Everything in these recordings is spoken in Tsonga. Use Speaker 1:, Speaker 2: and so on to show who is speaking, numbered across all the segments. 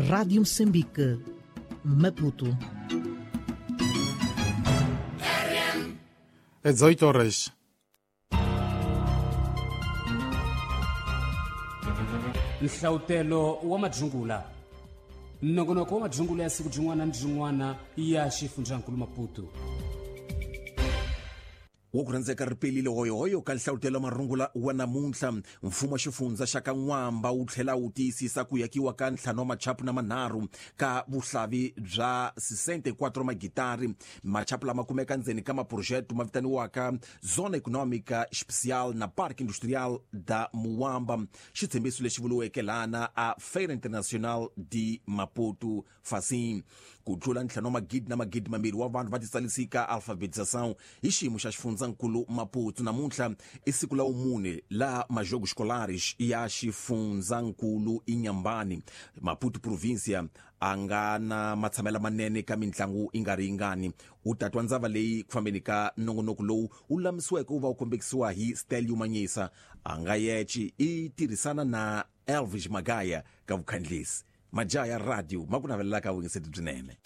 Speaker 1: Rádio Moçambique, Maputo.
Speaker 2: É 18 horas.
Speaker 3: Nhlawutelo wa madzungula, nongonoko wa madzungula ya siku byin'wana ni byin'wana ya xifundzankulu Maputo.
Speaker 4: Wo ku rhandzeka ripelile hoyohoyo ka nhlawutelo marungula wa namuntlha. Mfumo wa xifundza xa ka N'wamba wu tlhela wu tiyisisa ku yakiwa ka ntlhanu wa machapu na manharhu ka vuhlavi bya 64 magitari. Machapu lama kumeka ndzeni ka maphurojete ma vitaniwaka Zona Econômica Especial na Parque Industrial da Muwamba, xitshembiso lexi vuriweke lana a Feira Internacional de Maputo Facim. Ku tlula ntlhanu wa magidi na magidi mambirhi wa vanhu va titsarisika alfabetização hi xiyimo xa xifundzankulu Maputo. Namuntlha i siku la vumune la Majogos Escolares ya xifundzankulu Inhambane. Maputo província a nga na matshamelo manene ka mitlangu i nga ri yingani. U ta twa ndzava leyi ku fambeni ka nongonoko lowu wu lulamisiweke wu va wu kombekisiwa hi Stelio Manyisa. A nga yeci i tirhisana na Elvis Magaya ka vukhandlisi. Majaha ya radio ma ku navelelaka vuyingiseti byinene.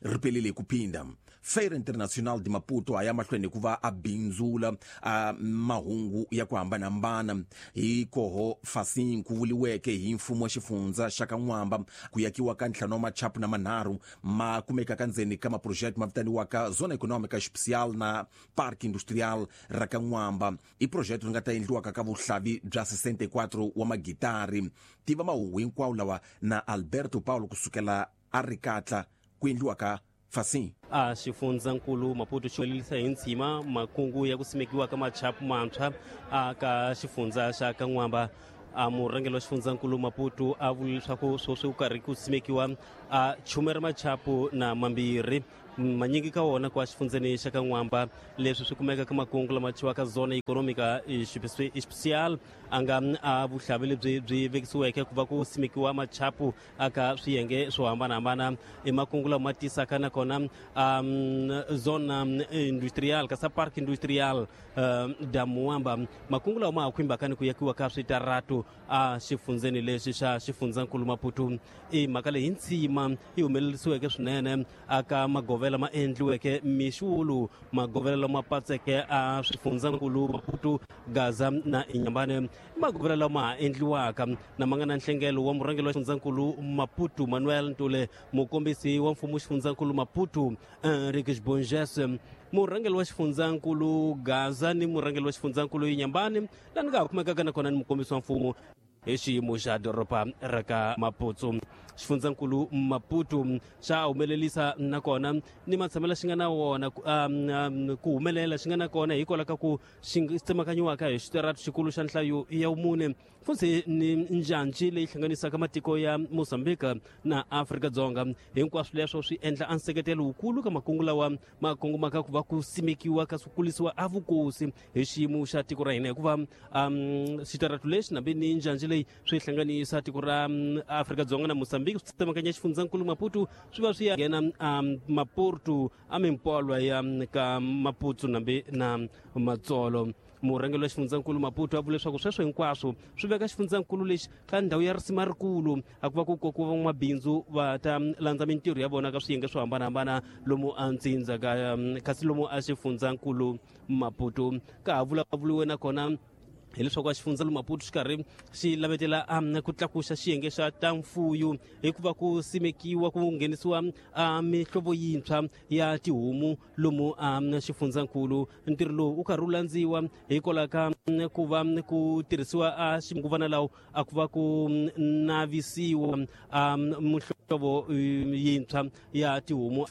Speaker 4: Ripelile hi ku phinda. Feira Internacional de Maputo a ya mahlweni ku va a bindzula a mahungu ya ku hambanahambana hi koho Facim ku vuliweke hi mfumo wa xifundza xa ka N'wamba ku yakiwa ka ntlhanu wa machapu na manharhu ma kumekaka ndzeni ka maphurojete ma vitaniwaka Zona Econômica Especial na Parque Industrial ra ka N'wamba. I phurojete ri nga ta endliwaka ka vuhlavi bya 64 wa magitari. Tiva mahungu hinkwawo lawa na Alberto Paulo kusukela a ri katla ku endliwa ka Facim.
Speaker 5: A xifundzankulu Maputo xi humelerisa hi ntshima makungu ya ku simekiwa ka machapu mantshwa a ka xifundza xa ka N'wamba. A murhangeri wa xifundzankulu Maputo a vule leswaku sweswi ku karhi ku simekiwa a chume ra machapu na mambirhi, manyingi ka wona kwa xifundzeni xa ka N'wamba. Leswi swi kumeka ka makungu lama thyiwaka Zona Econômica Especial, a nga a vuhlavi lebyi byi vekisiweke ku va ku simekiwa machapu aka swiyenge swo hambanahambana. I makungu lama tisaka nakona Zona Industrial kasa Park Industrial da Muwamba, makungu lawa ma ha khumbaka ni ku yakiwa ka switaratu a xifundzeni lexi xa xifundzankulu Maputo. I mhaka leyi ntsima yi humelerisiweke swinene aka magovela ma endliweke mixulu, magovela lama patseke a swifundzankulu Maputo, Gaza na Inhambane, magovela lama ha endliwaka na ma nga na nhlengelo wa murhangeri wa xifundzankulu Maputo Manuel Ntule, mukombisi wa mfumo xifundzankulu Maputo Henriques Bonges, murhangeri wa xifundzankulu Gaza ni murhangeri wa xifundzankulu Inhambane, laha ni nga ha kumekaka nakona ni mukombisi wa mfumo hi xiyimo xa doroba ra ka Maputo. Xifundzankulu Maputo xa humelerisa nakona ni matshamelo xi nga na wona ku humelela xi nga na kona hikwalaho ka ku xi tsemakanyiwaka hi xitaratu xikulu xa nhlayo ya vumune, futhi ni njhanji leyi hlanganisaka matiko ya Mozambique na Afrika-Dzonga. Hinkwaswo leswo swi endla a nseketelo wukulu ka makungu lawa ma kongomaka ku va ku simekiwa ka swi kulisiwa a vukosi hi xiyimo xa tiko ra hina, hikuva xitaratu lexi nambi ni njhanji leyi swi hlanganisa tiko ra Afrika-Dzonga na Mozambique, swi tsemakanya xifundzankulu Maputo, swi va swi ya nghena Maputo a mimpolwa ya ka Maputo nambi na Matsolo. Murhangeri wa xifundzankulu Maputo a vula leswaku sweswo hinkwaswo swi veka xifundzankulu lexi ka ndhawu ya risima rikulu, a ku va ku kokiwa van'wamabindzu va ta landza mintirho ya vona ka swiyenge swo hambanahambana lomu a ntsindza ka kasi lomu a xifundzankulu Maputo. Ka ha vulavuriwe nakona hileswaku a xifundzankulu Maputo xi karhi xi lavetela ku tlakusa xiyenge xa ta mfuyo hikuva ku simekiwa ku nghenisiwa mihlovo yintshwa ya tihomu lomu a xifundzankulu. Ntirho lowu wu karhi wu landziwa hikwalaho ka ku va ku tirhisiwa a xinguvana lawo a ku va ku navisiwa a muhlovo yintshwa ya tihomu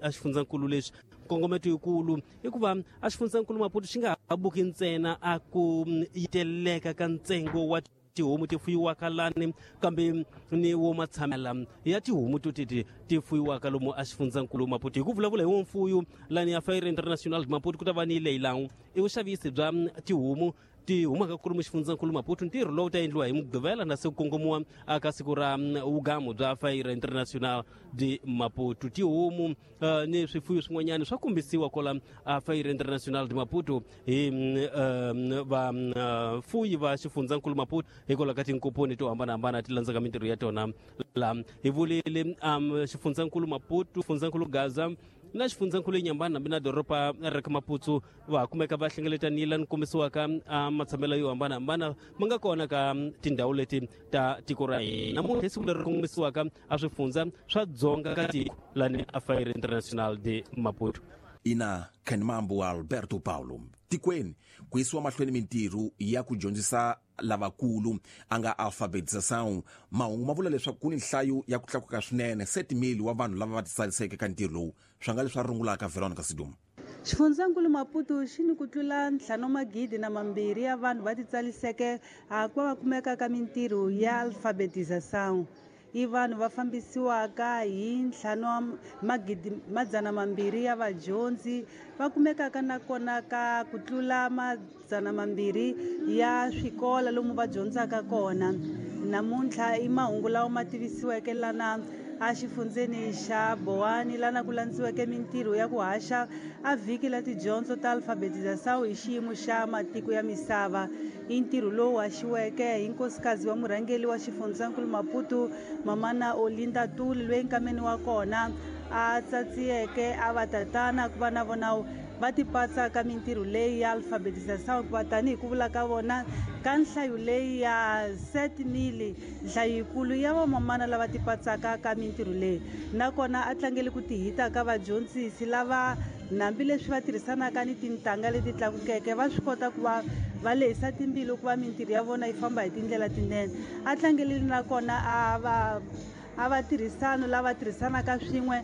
Speaker 5: a xifundzankulu lexi. Nkongometo yikulu i ku va a xifundzankulu Maputo xi nga ha buki ntsena a ku yiteleka ka ntsengo wa tihomu ti fuyiwaka lani, kambe ni wo matshamela ya tihomu to teti ti fuyiwaka lomu a xifundzankulu Maputo. Hi ku vulavula hi wo mfuyo lani ya Feira Internacional Maputo ku ta va ni leyilangu i vuxavisi bya tihomu. Ti humaka kulumu xifundzankulu Maputo. Ntirho lowu ta endliwa hi Mugqivela na se ku kongomiwa aka siku ra vugamu bya Feira Internacional de Maputo. Tihomu ni swifuyo swin'wanyana swa kombisiwa kwala a Feira Internacional de Maputo hi vafuyi va xifundzankulu Maputo hikwalaho ka tinkomponi to hambanahambana ti landzaka mintirho ya tona. Laha hi vulile xifundzankulu Maputo, xifundzankulu Gaza na xifundzankulu Inhambane hambi na doroba ra ka Maputo va kumeka va hlengeletanile ni kombisiwaka matshamelo yo hambanahambana ma nga kona ka tindhawu leti ta tiko ra hina. Namuntlha hi siku leri kombisiwaka a swifundza swa dzonga ka tiko lani a Feira Internacional de Maputo.
Speaker 4: Ina Kenmambo Alberto Paulo. Tikweni ku yisiwa mahlweni mintirho ya ku dyondzisa lavakulu a nga alfabetização. Mahungu ma vula leswaku ku ni nhlayo ya ku tlakuka swinene 7,000 wa vanhu lava va titsariseke ka ntirho lowu. Swi nga leswi a rungulaka Veronica Siduma.
Speaker 2: Xifundzankulu Maputo xi ni ku tlula 5,200 ya vanhu va titsaliseke ku va va kumeka ka mintirho ya alfabetização. I vanhu va fambisiwaka hi 2,200 ya vadyondzi va kumekaka nakona ka ku tlula 200 ya swikolo lomu va dyondzaka kona. Namuntlha i mahungu lawa ma tivisiweke lana a xifundzeni xa Boane lana ku landziweke mintirho ya ku haxa a vhiki la tidyondzo ta alfabetização hi xiyimo xa matiko ya misava. I ntirho lowu haxiweke hi nkosikazi wa murhangeri wa xifundzankulu Maputo, Mamana Olinda Tuli, loyi nkameni wa kona a tsatsiyeke a va tatana ku va na vona va tipatsa ka mintirho leyi ya alfabetização, hikuva tanihi ku vula ka vona ka nhlayo leyi ya 7,000 nhlayo yikulu ya vamamana lava tipatsaka ka mintirho leyi. Nakona a tlangele ku tihita ka vadyondzisi lava hambileswi va tirhisanaka ni tintangha leti tlakukeke va swi kota ku va va lehisa timbilu ku va mintirho ya vona yi famba hi tindlela tinene. A tlangelile nakona a va tirhisano lava tirhisanaka swin'we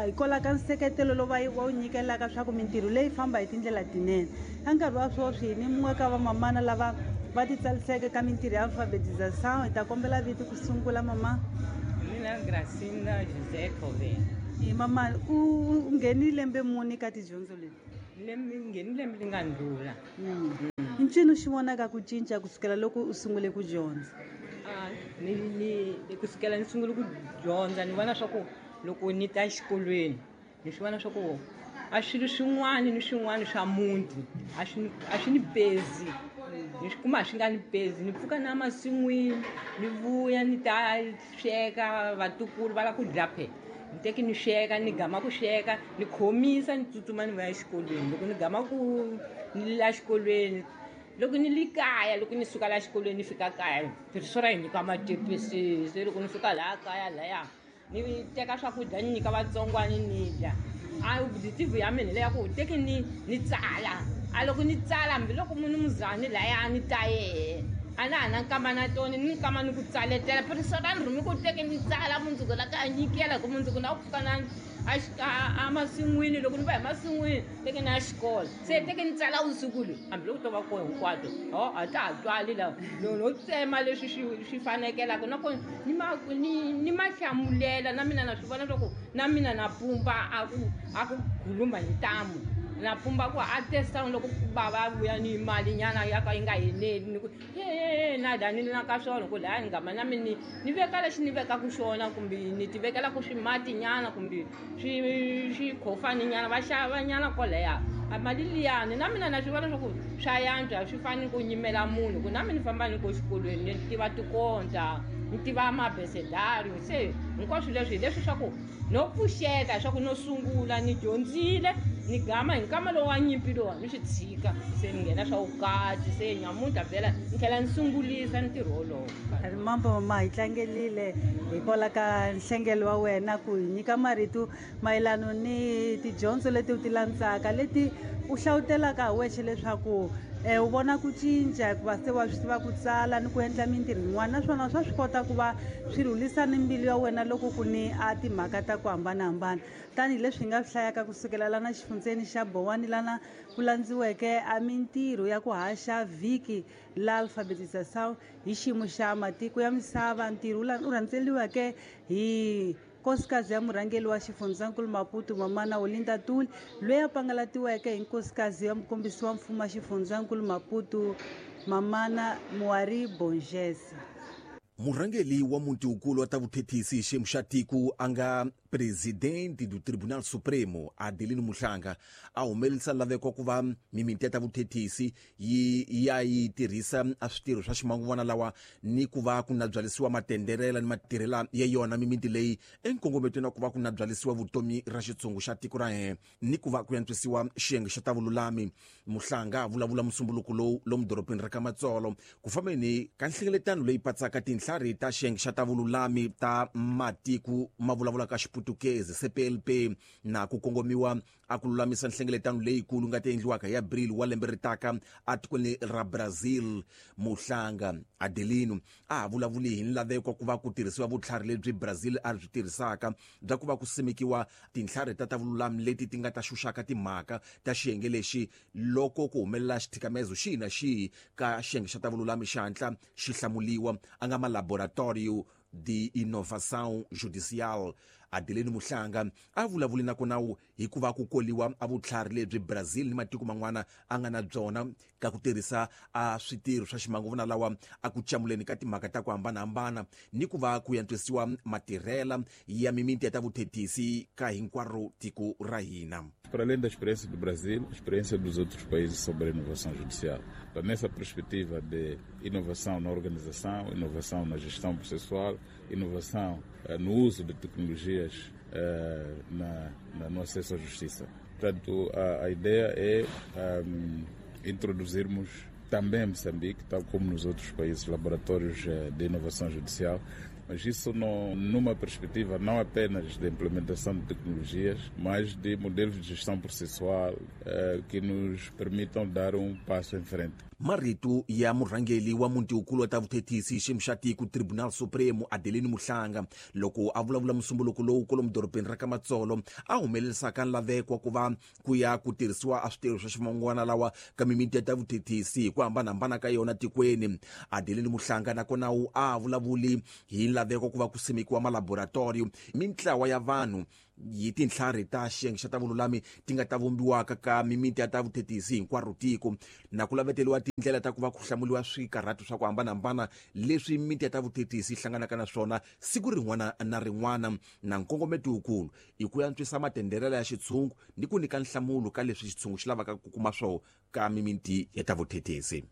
Speaker 2: hikwalaho ka nseketelo lowu va wu nyikelaka swa ku mintirho leyi famba hi tindlela tinene. Ka nkarhi wa sweswi ni mun'we ka vamamana lava va titsaliseke ka mintirho ya alfabetização. Hi ta kombela vito ku sungula, mama.
Speaker 6: Mina Gracinda José Cove.
Speaker 2: Mama, u nghenile lembe muni ka tidyondzo leti?
Speaker 6: Lembe ngheni lembe li nga ndlula.
Speaker 2: I ncini xi vonaka ku cinca kusukela loko u sungule ku dyondza?
Speaker 6: Ni kusukela ni sungule ku dyondza ni vona swa ku loko ni ta exikolweni ni swi vona swa ku a swilo swin'wana ni swin'wana swa muti a swi ni pezi. Ni swi kuma a swi nga ni pezi. Ni pfuka na masin'wini ni vuya ni ta sweka vatukulu va lava ku dya phe. Ni teki ni sweka ni gama ku sweka ni khomisa ni tsutsuma ni vuya exikolweni. Loko ni gama ku ni la xikolweni, loko ni li kaya, loko ni suka la xikolweni ni fika kaya, tirhiso ra hi nyika matepisi. Se loko ni fika laha kaya laya ni teka swakudya ni nyika vatsongwana ni dya. A objective ya mina leya ku teki ni tsala. A loko ni tsala hambiloko munhu muzani laya ni ta yehe a na ha na nkama na tona ni nkama ni ku tsaletela. Tirhiso ra ni rhumi ku teki ni tsala mundzuku la ka nyikela ku mundzuku na ku pfuka na a masin'wini. Loko ni va hi masin'wini teki na xikolo se teki ni tsala vusiku lowu hambiloko to va koho hinkwato a ta ha twali laha no tsema leswi swi fanekelaka nakona ni ma hlamulela na mina na swi vona leswaku na mina na pumba a ku khuluma hi ntamu na pumba ku a testa loko bava vuya ni mali nyana ya ka yi nga eneli ni ku na dani na ka swona ku laya ni ngama na mina ni veka lexi ni vekaku xona kumbe ni ti vekelaku swimati nyana kumbe swikhofani nyana va xava nyana kwalaya a mali liyani na mina na swi vona swa ku swa yantswa swi fani ku nyimela munhu ku na mina ni famba ni ko xikolweni ni tiva tikonta ni tiva mabesedario. Se hinkwaswo leswi hi leswi swa ku no pfuxeta swa ku no sungula ni dyondzile ni gama hi nkama lowu wa nyimpi lowa ni swi tshika se ni nghena swa vukati se nyamuntlha vhela ni tlhela ni sungulisa ntirho wolowo.
Speaker 2: Mambo mama, hi tlangelile hikwalaho ka nhlengelo wa wena ku hi nyika marito mayelano ni tidyondzo leti u ti landzaka leti u hlawutelaka hi wexe leswaku u vona ku cinca hikuva se wa swi tiva ku tsala ni ku endla mintirho yin'wana naswona swa swi kota ku va swi rhulisa ni mbilu ya wena loko ku ni a timhaka ta ku hambanahambana. Tanihileswi hi nga swi hlayaka kusukela lana xifundzeni xa Boane lana ku landziweke a mintirho ya ku haxa vhiki la alfabetização hi xiyimo xa matiko ya misava, ntirho wu rhandzeliweke hi Nkosikazi ya murhangeri wa xifundzankulu Maputo Mamana Olinda Tuli, loyi a pangalatiweke hi nkosikazi ya mukombisi wa mfumo wa xifundzankulu Maputo Mamana Muari Bonjesa.
Speaker 4: Murhangeri wa muti wukulu wa ta vuthethisi xiyimo xa tiko a nga presidente do Tribunal Supremo Adelino Muhlanga a humelerisa laveko ku va mimiti ya ta vuthethisi yi ya yi tirhisa a switirho swa ximanguvana lawa ni ku va ku na byalisiwa matenderela ni matirhela ya yona mimiti leyi enkongometweni wa ku va ku na byalisiwa vutomi ra xitshungu xa tiko ra hina ni ku va ku antswisiwa xiyenge xa ta vululami. Muhlanga a vulavula musumbuluko lowu lomu dorobeni ra ka Matsolo ku fambeni ka nhlengeletano leyi patsaka tinhlari ta xiyenge xa ta vululami ta matiko ma vulavulaka Xiputukezi CPLP na ku kongomiwa a ku lulamisa nhlengeletano leyikulu nga ta endliwaka hi Abril wa lembe ri taka etikweni ra Brazil. Muhlanga Adelino a vulavuli hi nlaveko ku va ku tirhisiwa vutlhari lebyi Brazil a byi tirhisaka bya ku va ku simekiwa tinhlari ta ta vululami leti ti nga ta xuxaka timhaka ta xiyenge lexi loko ku humelela xithikamezo xihi na xihi ka xiyenge xa ta vululami xi hatla xi hlamuliwa a nga ma-laboratorio de inovação judicial. Adelino Muhlanga a vulavuli na kona hikuva ku koliwa a vutlhari lebyi Brazil ni matiko man'wana a nga na byona ka ku tirhisa a switirho swa ximanguvana lawa a ku camuleni ka timhaka ta ku hambanahambana ni ku va ku antswisiwa matirhela ya mimiti ya ta vuthethisi ka hinkwaro tiko ra hina.
Speaker 7: Para além da experiência do Brasil, a experiência dos outros países sobre a inovação judicial. Então, nessa perspectiva de inovação na organização, inovação na gestão processual, inovação no uso de tecnologias no acesso à justiça. Portanto, a ideia é introduzirmos também em Moçambique, tal como nos outros países, laboratórios de inovação judicial, mas isso não, numa perspectiva não apenas de implementação de tecnologias, mas de modelos de gestão processual que nos permitam dar um passo em frente.
Speaker 4: Marito ya murhangeri wa muti wukulu wa ta vuthethisi xiyimo xa tiko Tribunal Supremo Adelino Muhlanga loko a vulavula musumbuluko lowu kwalomu dorobeni ra ka Matsolo a humelerisaka nlaveko ku va ku ya ku tirhisiwa a switirho swa ximangwana lawa ka mimiti ya ta vuthethisi hi ku hambanahambana ka yona tikweni. Adelino Muhlanga nakona a vulavuli hi nlaveko ku va ku simekiwa malaboratorio mintlawa ya vanhu yi tinhlari ta xiyenge xa ta vululami ti nga ta vumbiwaka ka mimiti ya ta vuthethisi hinkwaro tiko na ku laveteriwa tindlela ta ku va ku hlamuliwa swikarhato swa ku hambanahambana leswi mimiti ya ta vuthethisi yi hlanganaka na swona siku rin'wana na rin'wana na nkongometo wukulu i ku antswisa matenderela ya xitshungu ni ku nyika nhlamulo ka leswi xitshungu xi lavaka ku kuma swona ka mimiti ya ta vuthethisi.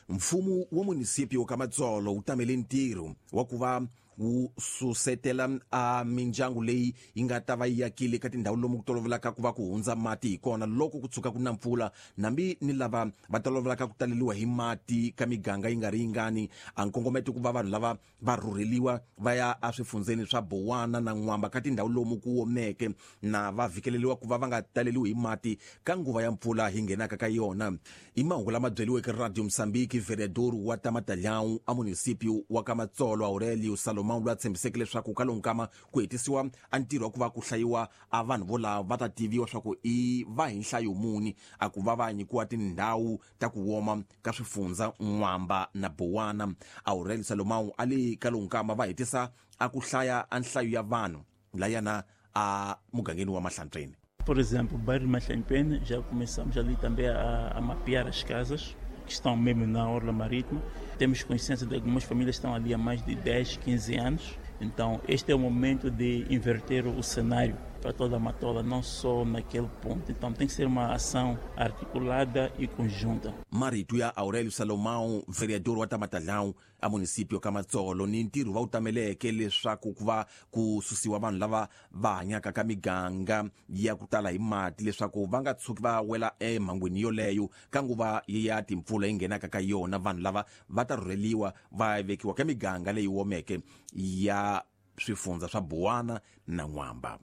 Speaker 4: Mfumo wa munisipio ka Matsolo wu tamele ntirho wa ku va wu susetela a mindyangu leyi yi nga ta va yi akile ka tindhawu lomu ku tolovelaka ku va ku hundza mati hi kona loko ku tshuka ku na mpfula nambi ni lava va tolovelaka ku taleliwa hi mati ka miganga yi nga ri yingani a nkongometo ku va vanhu lava va rhurheliwa va ya eswifundzeni swa Bowana na N'wamba ka tindhawu lomu ku omeke na va vhikeleliwa ku va va nga taleliwi hi mati ka nguva ya mpfula hi nghenaka ka yona. I mahungu lama byeliweke Radio Mozambique vereador wa Tamatalhão a munisipio wa ka Matsolo Aurelio Salomão loyi a tshembiseke leswaku ka lowu nkama ku hetisiwa a ntirho wa ku va ku hlayiwa a vanhu volava va ta tiviwa swa ku i va hi nhlayo muni a ku va va nyikiwa tindhawu ta ku woma ka swifundza N'wamba na Bowana. Aurelio Salomão a le ka lowu nkama va hetisa a ku hlaya a nhlayo ya vanhu layana a mugangeni wa Mahlantsweni.
Speaker 8: Por exemplo, o bairro de Mahlantsweni, já começamos ali também a mapear as casas que estão mesmo na orla marítima. Temos consciência de algumas famílias estão ali há mais de 10, 15 anos. Então, este é o momento de inverter o cenário para toda a Matola, não só naquele ponto. Então, tem que ser uma ação articulada e conjunta.
Speaker 4: Marito ya Aurélio Salomão, vereador wa Tamatalhão, a município ka Matsolo ni ntirho va wu tameleke leswaku ku va ku susiwa vanhu lava va hanyaka ka miganga ya ku tala hi mati leswaku va nga tshuki va wela emhangwini yoleyo ka nguva ya timpfula yi nghenaka ka yona. Vanhu lava va ta rhurheliwa va vekiwa ka miganga leyi omeke ya swifundza swa Bowana na N'wamba.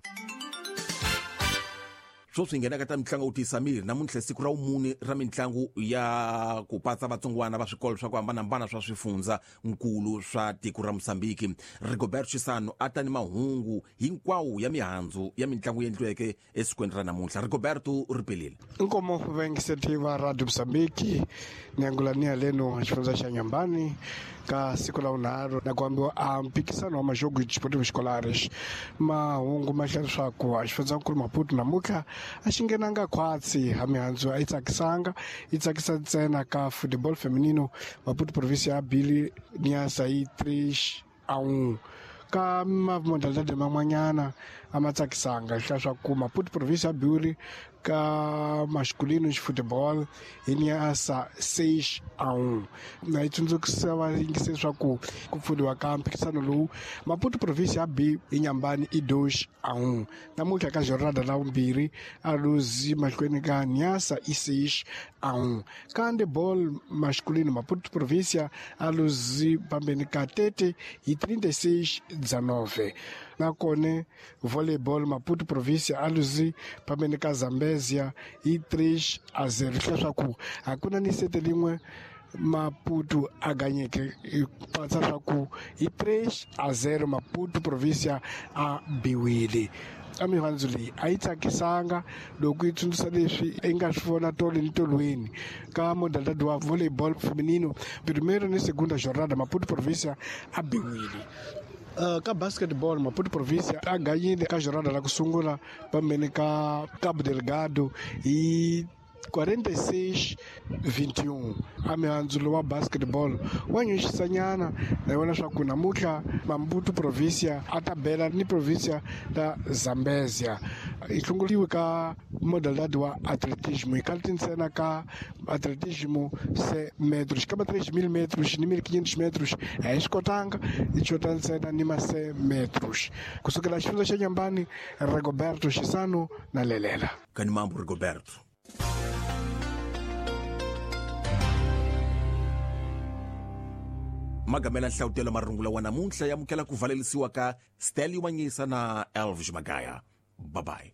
Speaker 4: Sweswi hi nghenaka ta mitlangu wu tiyisa miri. Namuntlha siku ra vumune ra mitlangu ya ku patsa vatsongwana va swikolo swa ku hambanahambana swa swifundza nkulu swa tiko ra Mosambiki. Rigoberto Chisano a ta ni mahungu hinkwawo ya mihandzu ya mitlangu endliweke esikwini ra namuntlha. Rigoberto, ri pelile.
Speaker 9: Nkomo vaingiseti va Radio Mozambique, niangulania leno xifundza xa Nyambani ka siku la vunharhu na ku ambiwa a mpikisano wa majogo desportivo escolares. Mahungu ma hlaya leswaku a xifundzankulu Maputo namuntlha a xi nghenanga khwatsi ha mihandzu a yi tsakisanga, yi tsakisa ntsena ka football feminino. Maputo province ya bili Niassa hi 3-1. Ka mamodalidade man'wanyana a ma tsakisanga, hlaya swa ku Maputo province ya biwile ka masculino football hi Niassa 6-1. Na yi tsundzukisa vayingisi leswaku ku pfuriwa ka mphikisano lowu Maputo province ya B hi Nyambani i 2-1. Namuntlha ka jornada la vumbirhi a luzi mahlweni ka Niassa i 6-1. Ka handball masculino Maputo province a luzi pambeni ka Tete hi 36-19. Nakone volleyball Maputo province a luzi pambeni ka Zambezia hi 3-0. Leswaku hakuna ni sete lin'we Maputo a ganyeke, hi patsa swa ku hi 3-0 Maputo province a biwile. A mihandzu leyi a yi tsakisanga loko yi tsundzuxa leswi i nga swi vona tolo ni tolweni ka modalidade wa volleyball feminino primeiro ni segunda jornada Maputo province a biwile. Ka basketball Maputo province a ganyile ka jornada la ku sungula pambeni ka Cabo Delgado hi 46-21. A mihandzu lowa basketball wa nyuxisanyana na vona swa ku namuntlha Maputo province a ta bela ni province la Zambezia. Yi hlongoriwe ka modalidade wa atletismo, hi kalti ntsena ka atletismo 100 metros kamba 3000 metros ni 1500 metros a yi swi kotanga, yi xota ntsena ni ma 100 metros. Kusukela xifundza xa Nyambani, Rigoberto Xisano na lelela.
Speaker 4: Kani mambo, Rigoberto. Magamela nhlawutelo marungula wa namuntlha ya amukela ku valelisiwa ka Stelio Manyisa na Elvis Magaya. Bye bye.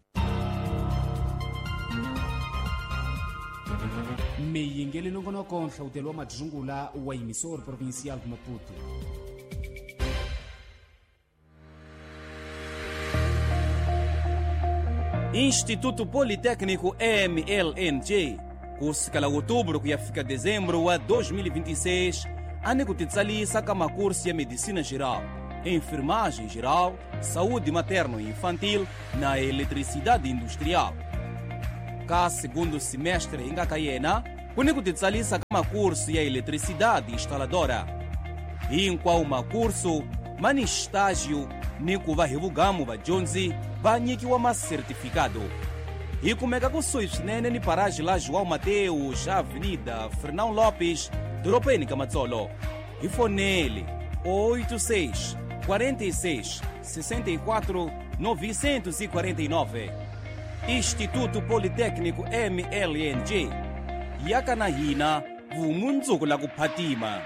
Speaker 3: Miyingeli nongonoko nhlawutelo wa madzungula wa emissor provincial de Maputo.
Speaker 10: Instituto Politécnico MLNG, kusukela outubro kuyafika dezembro wa 2026, ane kutitsalisa ka makurso ya medicina geral, enfermagem geral, saúde materno e infantil na eletricidade industrial. Ka segundo semestre ingakayena, kuni kutitsalisa ka makurso ya eletricidade instaladora. Hinkwawo makurso mani estágio ni ku va hi vugamu vadyondzi va nyikiwa masertifikado. Hi kumeka kusuhi swinene ni paraji la João Mateus, Avenida Fernão Lopes, doropeni ka Matsolo. Hi fonele 86 46 64 949. Instituto Politécnico MLNG, yaka na hina vumundzuku la ku phatima.